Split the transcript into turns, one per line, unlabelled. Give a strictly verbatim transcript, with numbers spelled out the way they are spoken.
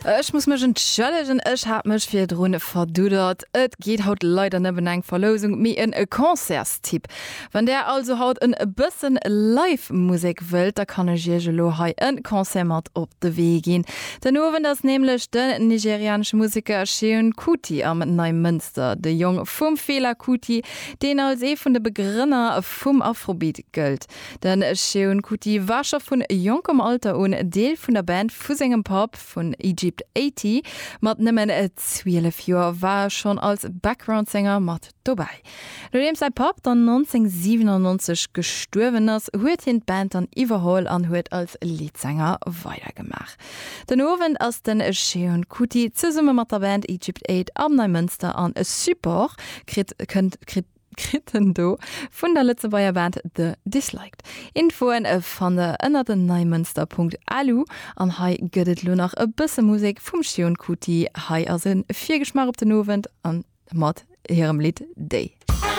Ech muss mech entschëllegen, ech hat mech virdrun verduddert. Et geet haut leider net ëm eng Verlousung, mee ëm e Concertstipp. Wann der also haut en bëssen Live-Musek wëllt, da kann ech iech elo hei en Concert mat op de Wee ginn. Den Owend ass nämlech den nigerianesche Museker Seun Kuti am Neimënster, de Jong vum Fela Kuti, deen als ee vun de Begrënner vum Afrobeat gëllt. Den Seun Kuti war scho vun jonkem Alter un Deel vun der Band vu sengem Papp vun Egypt achtzeg. Mat nëmmen zwielef Joer war e schonn als Backgroundsänger mat dobäi. Nodeem säi Papp dann nonzénhunnertsiwenannonzeg gestuerwen ass, huet hien d'Band dann iwwerholl an huet als Leadsänger weidergemaach. Den Owend ass den Seun Kuti zesumme mat der Band Egypt aacht am Neimënster an e Support kritt kënnt kritt kritt en do vun der Lëtzebuerger Band The Disliked. Infoen fannt der ënner den neimënster Punkt L U an hei gëtt et lo nach e bësse Musek vum Seun Kuti. Hei ass e Virgeschmaach op den Owend an mat hirem Lidd Day.